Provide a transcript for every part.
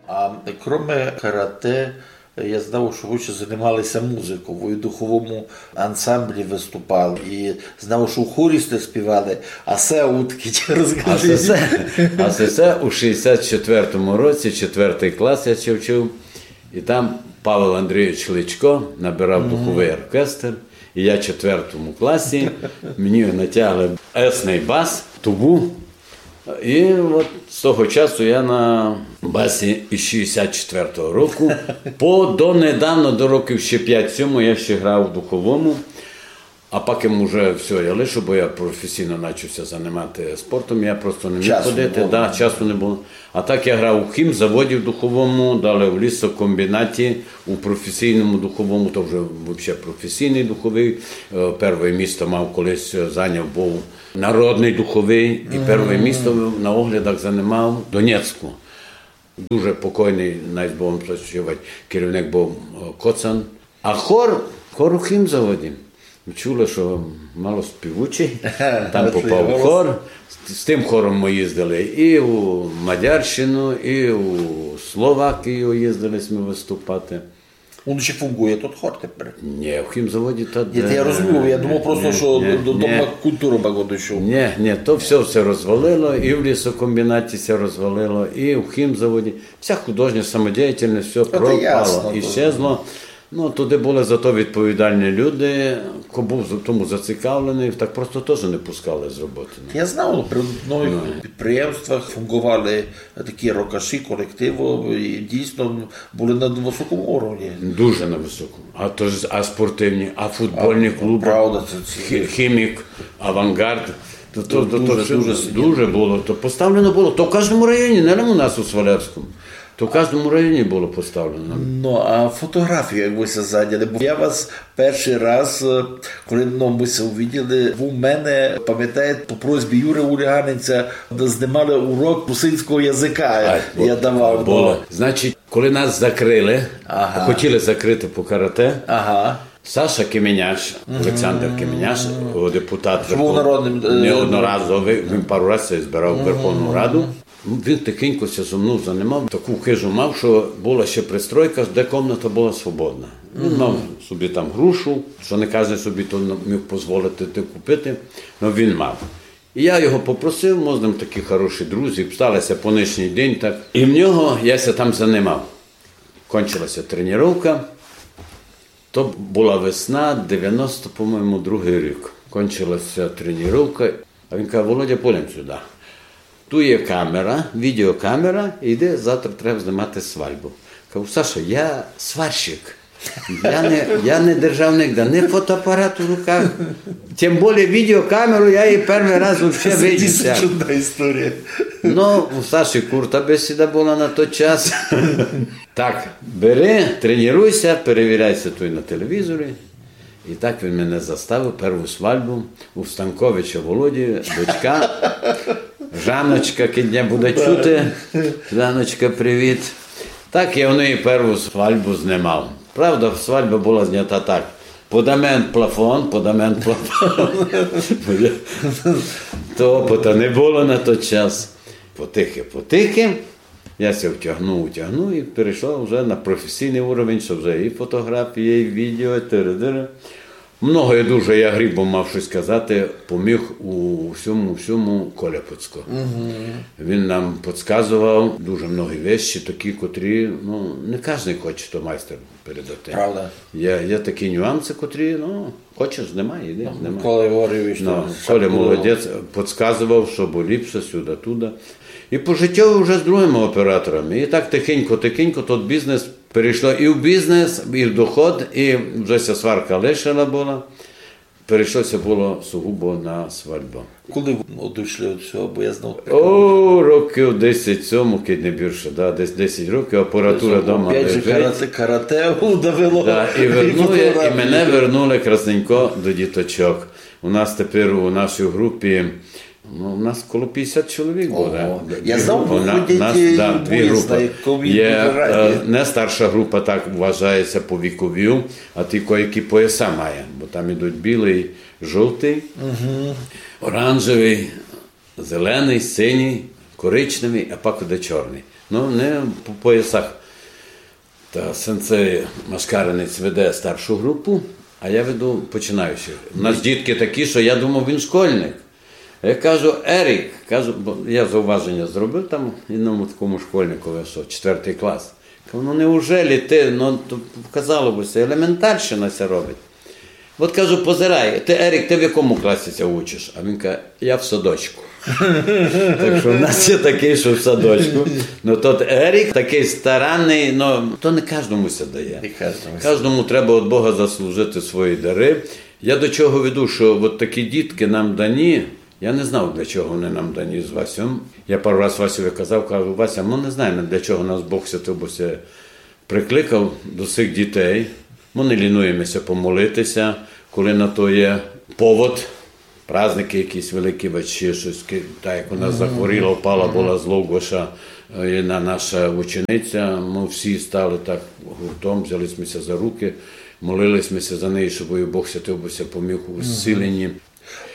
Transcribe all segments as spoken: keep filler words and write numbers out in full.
А кроме карате, я знав, што вы ще занимали ся музиков, вы в духовому ансамблі выступали, і знав, што в хорі сте співали, а се удкіть, розкажіть. А се, се, а се, се у шістдесят четвертому році, четвертый клас я ще вчив, і там Павел Андрійович Личко набирав духовый оркестр, і я в четвертому класі, мені натягли есный бас, тубу, і от з того часу я на басі із шістдесят четвертого року. По донедавна, до років ще пять-сім, я ще грав в духовому. А пак им уже всьо, я лишу, бо я професійно начав ся занимати спортом, я просто не міг ходити, да, часу не было. А так я грав у хімзаводі в духовому, далі в лісокомбінаті, у професійному духовому, то вже вообще професійный духовый. Е, первоє місто мав колись, е, зайняв був народный духовый, і первоє місто на оглядах занимав в Донецьку. Дуже покойный, най з Богом спочивать, керівник був, е, Коцан. А хор, хор у хімзаводі. Чули, што мало співучый, там попав у хор. З, з тым хором мы їздили і у Мадярщину, і у Словакію їздили сьме выступати. Он ще фунґує тот хор тепер? Ні, в хімзаводі та... Ні, та я розумію, я думав просто, што до, до Дома культуры багато йшов. Ні, ні, то всьо, всьо розвалило, і в лісокомбінаті ся розвалило, і в хімзаводі. Вся художня самодіяльность, всьо пропало, іщезло. Ну, туды были зато відповідальні люди, ко быв за-, тому зацікавленый, так просто тоже не пускали з роботы, ну. Я знав, при одных підприємствах фунґовали такі рокаші, колективы, і дійсно были на высокому уровні. Дуже на высокому. А то ж, а спортивні, а футбольні клубы, правда, це ці хі-, хімік, авангард. То, то, то, то дуже, всьо дуже, дуже было. То поставлено было. То в каждому районі, не лише у нас у Свалявському. То в каждому районі было поставлено. Ну, а фотоґрафію, як вы ся зайняли? Бо я вас першый раз, е, коли, ну, мы ся увиділи, вы мене, памятаєте, по просьбі Юры Уліганинця знимали урок русинського языка. А, я давав, было. Ну. Значить, коли нас закрыли, хотіли закрыти по карате, Саша Кеменяш, Олександр Кеменяш, о, депутат Верхов-, народным, е, неодноразовый, він пару раз ся збирав у Верховну Раду. Він тихенько ся зо мнов занимав, таку хижу мав, што была ще пристройка, де комната была свободна. Він мав собі там грушу, што не каждый собі то міг позволити ти купити, но він мав. І я його попросив, мы з ним такі хороші друзі, стало ся по нынішній день так. І в нього я ся там занимав. Кончила ся тренировка. То была весна, девяносто, по-моєму, другый рік. Кончила ся тренировка. А він каже: «Володя, пойдем сюды. Ту є камера, відеокамера, іди, завтра треба знимати свальбу». Кажу: «Саша, я сварщик. Я не, я не держав нигде ні фотоапарат у руках, тем более відеокамеру, я її первый раз вообще видів». Це дійсно чудна історія. Ну, у Саші курта бесіда была на той час. Так, бери, тренуй ся, перевіряй ся туй на телевізорі. І так він мене заставив перву свальбу у Станковича Володі, дочка, Жаночка, кидь ня буде чути. Жаночка, привіт. Так я в неї перву свальбу знимав. Правда, свальба была знята так. Подамент плафон, подамент плафон. То опыта не было на той час. Потихи, потихи. Я ся втягнув, втягнув і перейшов вже на професійный уровень, што вже і фотоґрафія, і відео, і тири-дири. Многоє дуже, я грібом мав штось казати, поміг у всьому, всьому Коля Пуцко. Він нам подсказовав дуже многі вещі, такі, котрі, ну, не каждый хоче то майстер передати. Правда. Є, є такі нюансы, котрі, ну, хочеш, знімай, іди, знімай. Коля говорив, што... Ну, Коля молодець, подсказовав, што бы ліпше сюды, туды. І по життю вже з другыми операторами. І так тихенько, тихенько тот бізнес перейшло і в бізнес, і в доход, і вже ся сварка лишила была. Перейшло ся было сугубо на свальбу. Коли вы одышли од сього, бо я знав... О, років десять сьому, кидь не більше, да, десь десять років, апаратура дома лежить. Опять же, карате, карате удавило. Да, і вернули, і мене вернули красненько до діточок. У нас тепер у нашій групі, ну, у нас коло пятдесят чоловік буде. Ого. Я знав, выходять, да, дві групы. Є, е, не старша група, так вважає ся по віковю, а ті, коякі пояса має, бо там ідуть білый, жовтый, оранжевый, зеленый, синій, коричневый, а пак іде чорный. Ну, не по поясах. Та сенсей Машкаринець веде старшу групу, а я веду починаючих. У нас дітки такі, што я думав, він школьник. А я кажу: «Ерік», кажу, бо я зауваженя зробив там єдному такому школьникови, што четвертый клас. Кажу: «Ну, неужели ты, ну, то, казало бы ся, елементарщина ся робить». От кажу: «Позирай, ты, Ерік, ты в якому класі ся учиш?» А він каже: «Я в садочку». Так што в нас є такый, што в садочку. Ну, тот Ерік такый старанный, ну, то не каждому ся дає. Не каждому ся. Каждому треба од Бога заслужити свої дары. Я до чого веду, што от такі дітки нам дані. Я не знав, для чого они нам дані з Васьом. Я пару раз Васьови казав, кажу: «Вася, мы не знаєме, для чого нас Бог святый, бо ся прикликав до сих дітей. Мы не лінуєме ся помолити ся, коли на то є повод, праздникы якісь великі, вать ще штось, ки-, та як она захворіла, впала была з Логоша, е, єдна наша учениця, мы всі стали так гуртом, взяли сьме ся за рукы, молили сьме ся за неї, щоб її Бог святый бы ся поміг у зціленї».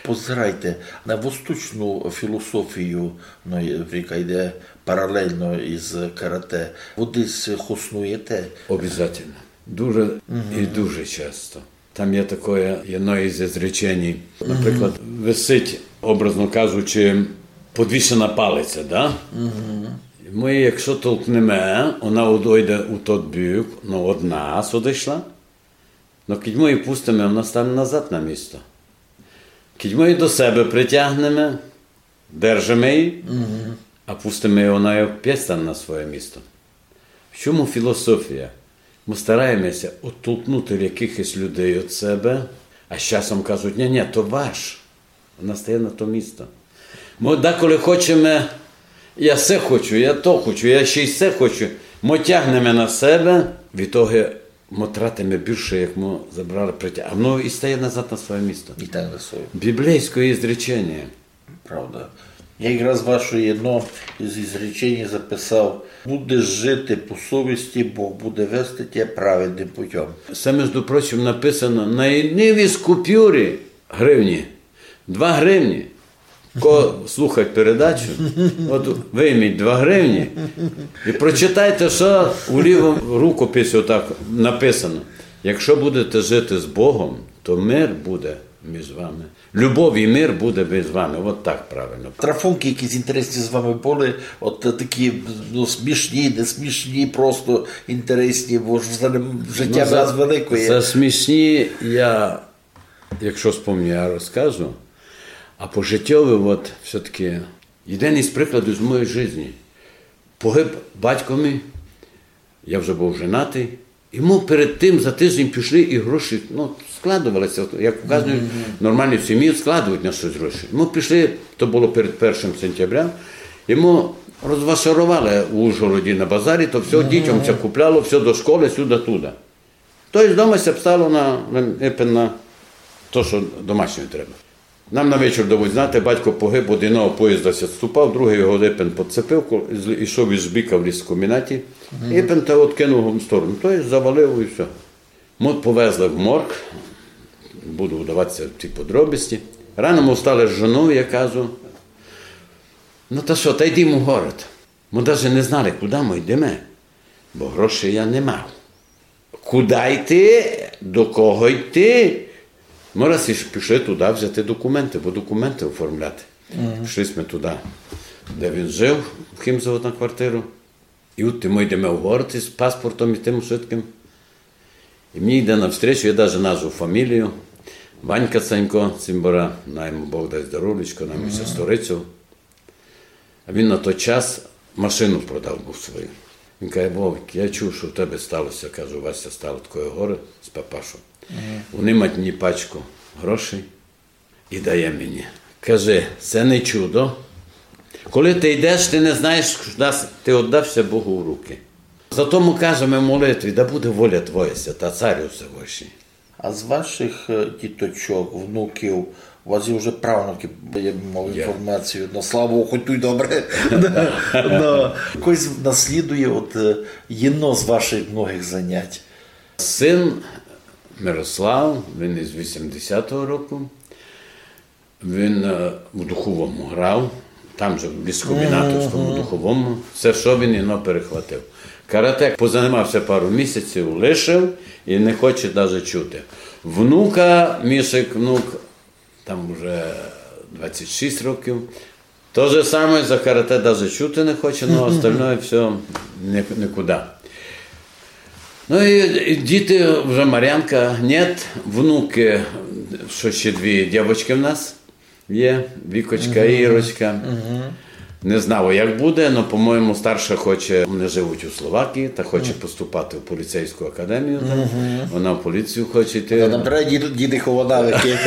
Позирайте, на восточну філософію, ну, яка йде паралельно із карате, вы десь хоснуєте? Обязательно. Дуже і дуже часто. Там є такоє, єдно із ізреченій. Наприклад, висить, образно кажучи, подвішена палиця, да? Мы її якщо толкнеме, она одойде у тот бік, ну, од нас одышла. Но кідь мы її пустиме, она стане назад на місто. Кідь мы її до себе притягнеме, держиме її, а пустиме її, она опять стане на своє місто. В чому філософія? Мы стараєме ся оттолкнути якихось людей од себе, а з часом кажуть: «Ні, ні, то ваш». Она стає на то місто. Мы деколи хочеме: «Я се хочу, я то хочу, я ще й се хочу». Мы тягнеме на себе, в итоге мы тратиме більше, як мы забрали, притя-, а воно і стає назад на своє місто. І так на своє. Біблійське ізречення. Правда. Я якраз ваше єдно із ізречень записав: «Будеш жити по совісти, Бог буде вести тебе праведним путем». Се, между прочим, написано на єдній із купюрі гривні. Два гривні. Ко слухать передачу, от вийміть два гривні і прочитайте, што у лівому рукописі отак написано: «Якщо будете жити з Богом, то мир буде між вами. Любов і мир буде між вами». От так правильно. Трафункы якісь інтересні з вами были, от такі, ну, смішні, не смішні, просто інтересні, бо ж за ним життя в нас великоє. За смішні я, якщо спомню, я розкажу. А по життєві, от, все-таки, єден із прикладів з моєї житті. Погиб батько мій, я вже був женатий. І мы перед тим за тиждень пішли і гроші, ну, складовали ся, як указують нормальні в сім'ї, складують на штось гроші. Мы пішли, то было перед першим сентября, і мы розвашаровали у Ужгороді на базарі, то всьо дітям ся купляло, всьо до школы, сюды-туды. То єсть дома ся обстало на, на, епен на то, што домашнє треба. Нам на вечір давуть знати: батько погиб, од єдного поїзда ся ступав, другый його епен подцепив, ко-, з-, ішов із бика в ліс в комінаті, епен та откинув го в сторону. То єсть завалив і всьо. Мы повезли в морг, буду вдавати ся в ті подробиці. Рано мы встали з жонов, я кажу: «Ну та што, та йдімо в город». Мы даже не знали, куды мы йдеме, бо грошей я не мав. Куды йти, до кого йти? Мы раз і пішли туды взяти документы, бо документы оформляти. Пішли сьме туды, де він жив, в Хімзово на квартиру. І от мы йдеме в город із паспортом і тым швидкым. І мені йде навстречу, я даже назву фамілію, Ванька Санько Цімбора, най му Бог дасть здоровлячко, най му ся сторицю. А він на той час машину продав був свою. Він каже: «Вовик, я чув, што в тебе стало ся, кажу, Вася, стало такоє горе з папашом. Вони мать мені пачку грошей і дає мені. Каже, се не чудо. Коли ты йдеш, ты не знаєш, куды с-, ты оддав ся Богу в руки. Зато мы кажеме в молитві: да буде воля Твоя, свята, Царю Всевышній». А з ваших, е, діточок, внуків, у вас є вже правнуки, я мав інформацію, ну, слава Богу, хоть туй добре. Да. Хтось наслідує от, е, єдно з ваших многих занять? Син Мирослав, він із вісімдесятого року, він, е, в духовому грав, Там же в ліскомбінатовському духовому, все, що він, воно перехватив. Карате позанимався пару місяців, лишив і не хоче даже чути. Внука, Мішик, внук, там уже двадцять шість років, то же саме за карате даже чути не хоче, но остальное все ні-, нікуди. Ну і, і діти вже, Марянка, нет, внуки, що ще дві дівочки в нас є, Вікочка і Ірочка. Не знаю, як буде, но, по-моєму, старша хоче, вони живуть у Словакії, та хоче поступати в поліцейську академію. Там. Вона в поліцію хоче йти. Та там треба діти, діти холодавики.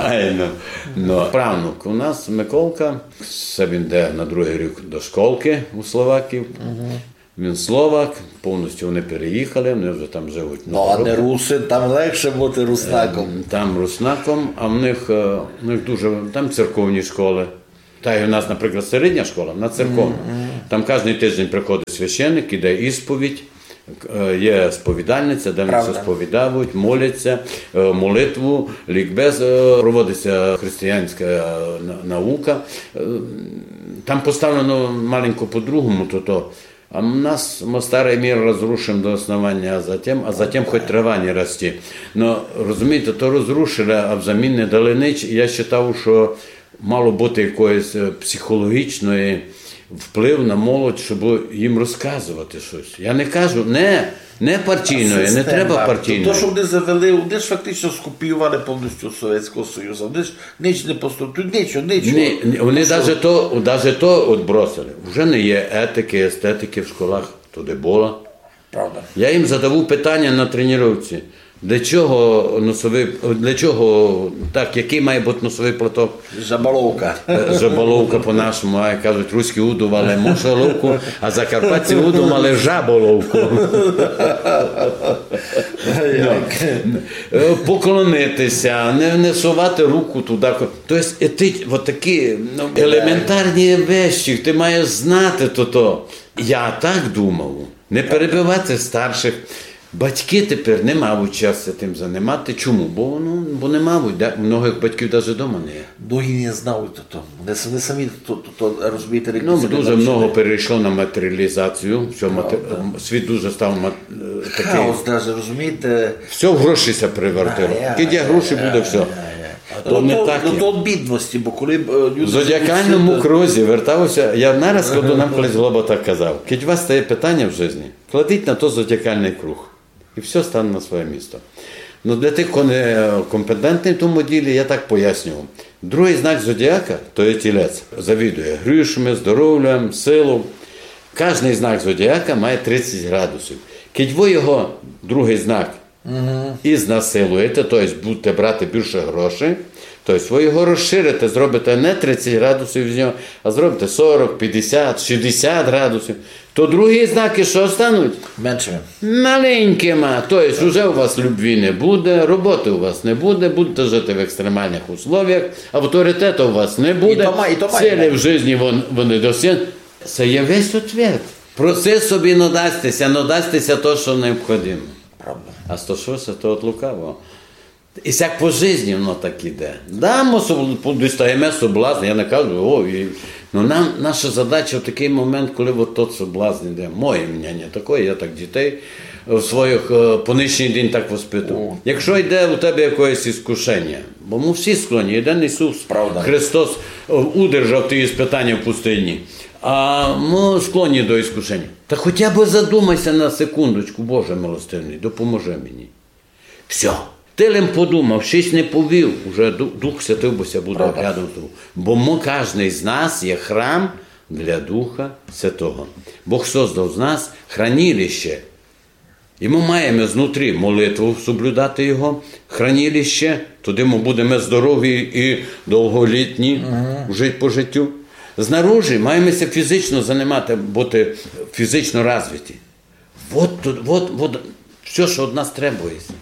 Айно. Но, правнук у нас, Миколка, це він йде на другий рік до школки у Словакії. Він словак, повністю вони переїхали, вони вже там живуть. Ну, а не русин, там легше бути руснаком. Ем, там руснаком, а в них, е, в них дуже, там церковні школи. Та й у нас, наприклад, середня школа, вона церковна. Там кожен тиждень приходить священник, іде ісповідь, е, є сповідальниця, де вони все сповідають, моляться, е, молитву, лікбез, е, проводиться християнська, е, на-, наука. Е, там поставлено маленько по-другому, то, то А в нас мы старый мир разрушим до основания, а затем, а затем хоть трава не расти. Но, розумієте, то розрушили, а взамін не дали нич. І я считав, што мало быти якоїсь, е, психологічної вплив на молодь, щоб їм розказувати щось. Я не кажу, не, не партійної, не треба партійної. То, што вони завели, вони ж фактично скопіювали повністю Совєтського Союзу. Вони ж Нич не поступ-, тут ничого, ничого. Ні, ні, вони даже то, даже то отбросили. Уже не є етики, естетики в школах, туды было. Правда. Я їм задаву питання на тренировці. Для чого носовий, для чого так, який має бути носовий платок? Жаболовка. Е, жаболовка по-нашому, а кажуть, руські удумали мошоловку, а закарпатці удумали жаболовку. Ну, е, поклонитися, не, не совати руку туди, ко-, То єсть етич-, от такі, ну, елементарні вещі, ти маєш знати то, то. Я так думав. Не перебивати старших. Батьки тепер не мають часу тим занимати. Чому? Бо, ну, бо не мають. Да? Многих батьків даже дома не є. Многі не знають то, то. Вони с-, вони самі то, то, то, розумієте, Ну, дуже много перейшло на матеріалізацію. Всьо мате-, світ дуже став мат-, е, такий. Хаос даже, розумієте? Всьо в гроші ся превратило. А, я, Кидь є я, гроші, я, буде всьо. я, я. А то, то не то, так то, є. То від бідності, бо коли б, е, люди Зодіакальному кругу вертався, я нараз, коли нам колись Глоба так казав, кидь у вас стає питання в житті, кладіть на то зодіакальний круг. І всьо стане на своє місто. Ну, для тих, хто не компетентний в тому ділі, я так пояснюю. Другий знак зодіака, то є тілець. Завідує грошами, здоров'ям, силою. Кожний знак зодіака має тридцять градусів. Кидь ви його, другий знак, ізнасилуєте, то єсть будете брати більше грошей, то єсть ви його розширите, зробите не тридцять градусів з нього, а зробите сорок, пятдесят, шістдесят градусів, то другі знаки што стануть? Меншими. Маленькима. То єсть уже у вас любви не буде, роботи у вас не буде, будете жити в екстремальних условіях, авторитету у вас не буде, І то ма-, і то має. Цілі в житті вон-, вони досягнуть. Це є весь ответ. Проси собі, но дасться, но дасться то, што необхідно. Правда. А сто шостий то от лукавого. І сяк по житті воно так іде. Да, ми соб-, дістаєме соблазн, я не кажу, о, і, ну, нам, наша задача в такий момент, коли от тот соблазн іде, моє мнення таке, я так дітей в своїх, е, по нынішній день так воспитую. О. Якщо йде у тебе якесь іскушення, бо ми всі склонні, єден Ісус Правда. Христос, е, удержав ті іспитання в пустині, а ми склонні до іскушення. Та хоча б задумайся на секундочку, Боже милостивий, допоможи мені. Всьо. Ти лем подумав, штось не повів, уже Ду-, Дух Святий бо ся буде Правда. Рядом з тобою. Бо ми, кожний з нас є храм для Духа Святого. Бог создав з нас хранилище. І ми маєме знутрі молитву соблюдати його, хранилище, туды ми будеме здорові і довголітні, жити по життю. Знаружи маєме ся фізично занимати, бути фізично розвиті. Вот, тут, вот, вот всьо, што од нас требується.